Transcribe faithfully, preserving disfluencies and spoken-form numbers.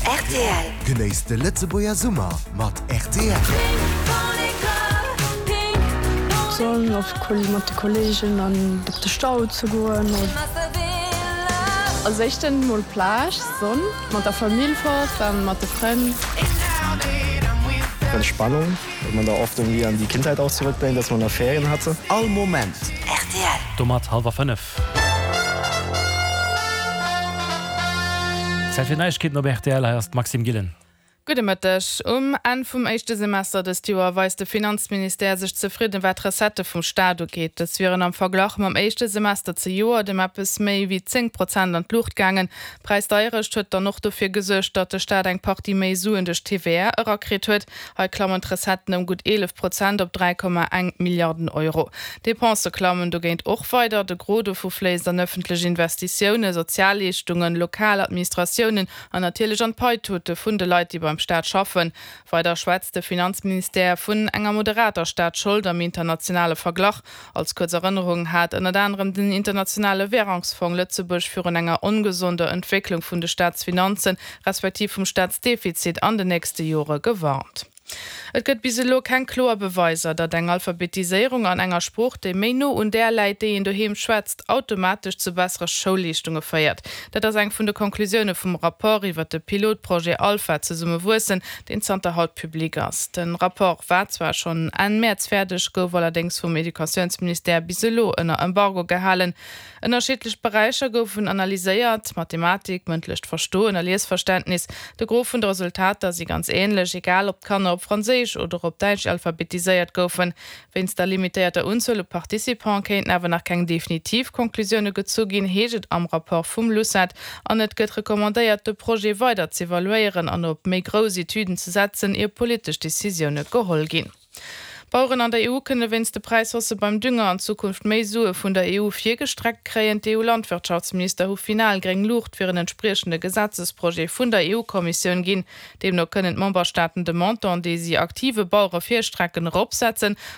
R T L. Genéisst de Lëtzebuerger Summer mat R T L. Sonn op mat de Kolleegen an op de Stau ze goen. Als éischten mol Plage, Sonn, mat der Famill fort, dann mat de Frënn. Entspannung, weil man da oft irgendwie an die Kindheit auch zurückdenkt, dass man da Ferien hatte. All Moment. R T L. Domat hallwer fënnef. Zäit fir Neiegkeeten op R T L, hei ass d'Maxime Gillen. Gudde Mëtteg. Um Enn vum éischte Semester dëst Joer weist de Finanzministère sech zefridden, wat d'Recettë vum Staat ugeet. Dës wieren am Verglach mam éischte Semester zejoert ëm eppes méi wéi zéng Prozent an d'Luucht gaangen. D'Präisdeierecht huet dann och dofir gesuergt, datt de Staat eng Partie méi Suen duerch d'T V A erakritt huet. Hei klammen d'Recetten ëm gutt eelef Prozent op dräi Komma eng Milliarden Euro. D'Depensë klammen dogéint och weider. De Gros dovu fléisst an ëffentlech Investitiounen, Sozialleeschtungen, lokal Administratiounen an natierlech an d'Paitute vun de Leit, déi beim Staat schaffen. Weider schwätzt de Finanzministère vun enger moderater Staatsschold am internationale Verglach. Als kuerz Erënnerung hat ënnert anerem den internationale Wärungsfong Lëtzebuerg virun enger ongesonder Entwécklung vun de Staatsfinanzen, respektiv vum Staatsdefizit an den nächste Jore gewarnt. Et gëtt bis elo keng kloer Beweiser, datt eng Alphabetiséierung an enger Sprooch, déi méi no un där läit, déi een doheem schwätzt, automatesch zu bessere Schoulleeschtunge féiert. Dat ass eng vun de Konklusioune vum Rapport iwwer de Pilotprojet Alpha zesumme wuessen, deen zanter haut public ass. De Rapport war zwar schonn Enn Mäerz fäerdeg, gouf allerdéngs vum Educatiounsministère bis elo ënner Embargo gehalen. Ënnerschiddlech Beräicher goufen analyséiert, Mathematik, mëndlecht Verstoen a Liesverständnis. De Gros vun de Resultater si ganz änlech, egal ob d'Kanner op Franséisch oder op Däitsch alphabetiséiert goufen. Wéinst der limitéierter Unzuel u Participante kéinten awer nach keng definitiv Konklusioune gezu ginn, heescht et am Rapport vum LUCET. An et gëtt recommandéiert, de Projet weider z'evaluéieren an op méi grouss Etüden ze setzen, ier politesch Decisioune geholl ginn. Baueren an der E U kënne wéinst de Präishaussë beim Dünger an Zukunft méi Sue vun der E U virgestreckt kréien. D'E U-Landwirtschaftsminister hu final gréng Luucht fir en entspriechende Gesetzesprojet vun der E U-Kommissioun ginn. Deemno kënnen d'Memberstaaten de Montant, dee si aktive Bauere virstrecken, eropsetzen.